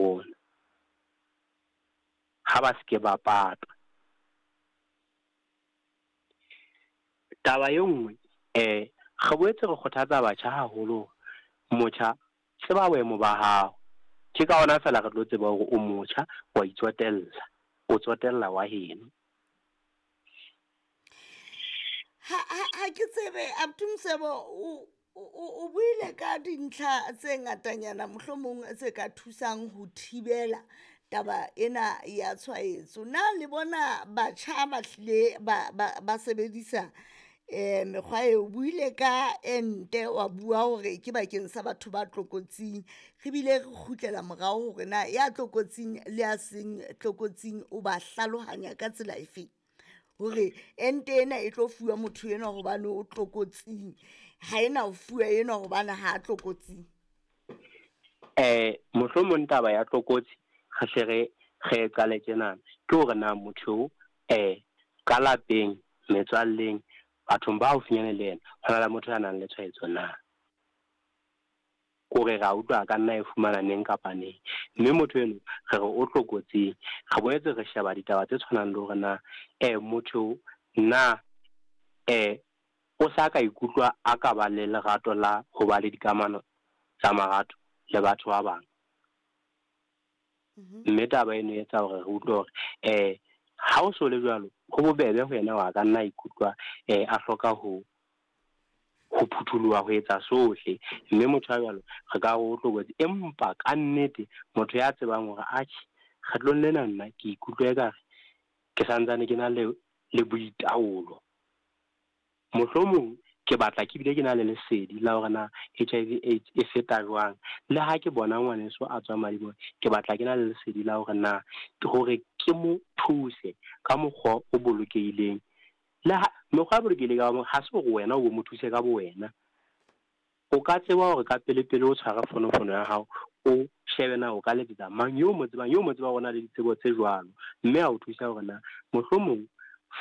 rona. Ha ba se ke ba patwa. Taba e nngwe, re boetse re kgothatsa batjha haholo hore motjha tseba boemo ba hao. Ke ka hona feela re tlo tseba hore o motjha, wa itsotella, o tsotella wa heno. Ha ke tsebe abuti Mosebo, o buile ka dintlha tse ngatanyana mohlomong tse ka thusang ho thibela taba ena ya tshwaetso. Na le bona batjha ba hlile ba sebedisa mekgwa eo? O buile ka ente, wa bua hore ke bakeng sa batho ba tlokotsing, re bile re kgutlela morao hore na ya tlokotsing le ya seng tlokotsing o ba hlalohanya ka tsela efeng, hore ente ena e tlo fuwa motho enwa hobane o tlokotsing, ha ena ho fuwa enwa hobane ha a tlokotsing. Mohlomong taba ya tlokotsi re hle re e qale tjenana, ke hore na motho ka lapeng, metswalleng, bathong ba haufinyane le yena, ho na le motho ya nang le tshwaetso na. Kore ra utlwa ka nna e fumana neng kapa neng, mme motho eno re re o tlokotsing. Re boetse re sheba ditaba tse tshwanang le hore na motho na o sa ka ikutlwa a ka ba le lerato la ho ba le dikamano tsa marato le batho ba bang. Mme taba eno e etsa hore re utlwe hore ha o so le jwalo, ho bobebe ho yena hore a ka nna ikutlwa a hloka ho phutholoha ho etsa sohle, mme motho ya jwalo re ka re o tlokotsi. Empa ka nnete motho ya tsebang hore atjhe, kgetlong lena nna ke ikutlwa ekare ke santsane ke na le boitaolo, mohlomong ke batla ke bile ke na le lesedi la hore na HIV AIDS e feta jwang, le ha ke bona ngwaneso a tswa madiboho, ke batla ke na le lesedi la hore na ke hore ke mo thuse ka mokgwa o bolokehileng. Le ha mekgwa e bolokehileng ka ha se hore wena o mo thuse ka bo wena. O ka tseba hore ka pele pele o tshwara fonofono ya hao, o shebe na o ka letsetsa mang yo mo tsebang, yo mo tsebang hore o na le ditsebo tse jwalo, mme a o thusa hore na mohlomong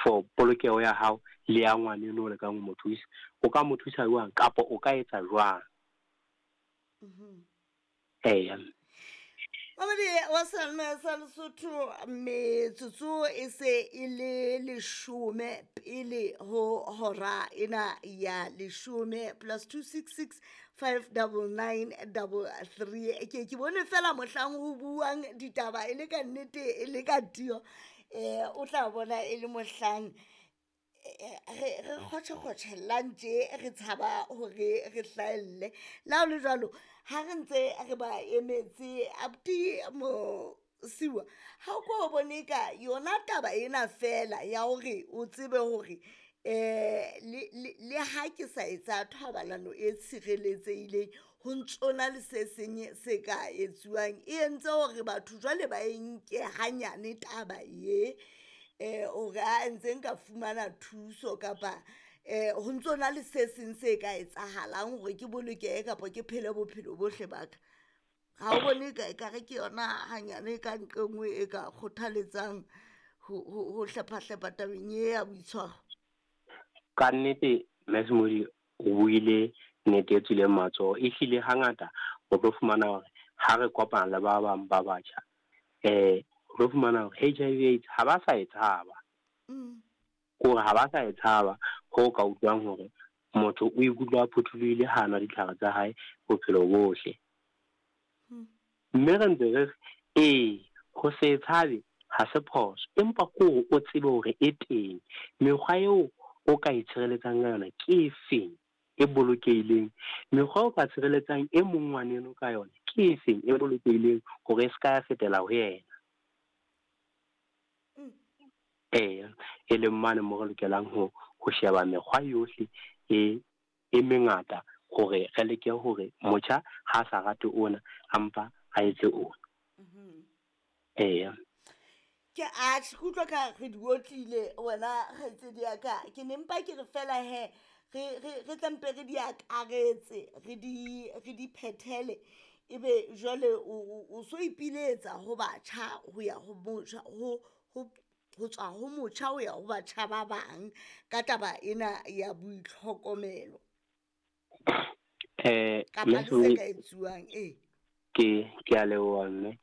for polokeho ya hao le ya ngwaneno o lekang ho mo thusa, o ka mo thusa jwang kapa o ka etsa jwang. Eya. Mamedi wa Seyalemoya sa Lesotho, metsotso e se e le 10 pele ho hora ena ya 10, +266 599 33. Ke bone fela mohlang ho buang ditaba e le ka nnete, e le ka tiyo, o tla bona e le mohlang re kgotjhe-kgotjhellang tje, re tshaba hore re hlahelle. Le ha ho le jwalo, ha re ntse re ba emetse abuti Mosiuwa, ha o ko bone ka yona taba ena fela ya hore o tsebe hore le ha ke sa etsa thobalano e tshireletsehileng, ho ntsona le se seng se ka etsuwang, e entse hore batho jwale ba e nke hanyane taba ye, hore a ntse nka fumana thuso kapa ho ntsona le se seng se ka etsahalang hore ke bolokehe kapa ke phele bophelo bohle ba ka. Ha o bone ka ekare ke yona hanyane ka nqe nngwe e ka kgothaletsang ho hlepha-hlepha tabeng e ya boitshwaro? Ka nnete Mme o buile nnete e tswileng matsoho. Ehlile hangata o tlo fumana hore ha re kopana le ba bang ba batjha, o tlo fumana hore HIV AIDS ha ba sa e tshaba. Kore ha ba sa e tshaba, ho ka utlwang hore motho o ikutlwa a phuthulohile ha nwa ditlhare tsa hae bophelo bohle. Mme re ntse re re ee, ho se tshabe ha se phoso, empa ke hore o tsebe hore e teng. Mekgwa eo o ka itshireletsang ka yona ke efeng e bolokehileng, mekgwa o ka tshireletsang e mong ngwaneno ka yona ke efeng e bolokehileng hore e se ka ya fetela ho yena. Eya, e leng mane moo re lokelang ho sheba mekgwa yohle e mengata hore re leke hore motjha ha sa rate ona, a mpa a etse ona. Eya. Ke atjhe, ke utlwa ka re di otlile wena kgaitsedi ya ka. Ke ne mpa ke re fela hee re tla mpe re di akaretse, re di phethele, ebe jwale o so ipiletsa ho batjha ho ya ho motjha, ho tswa ho motjha ho ya ho batjha ba bang ka taba ena ya boitlhokomelo. Kapa le se ka etsuwang, ee. Ke a leboha mme.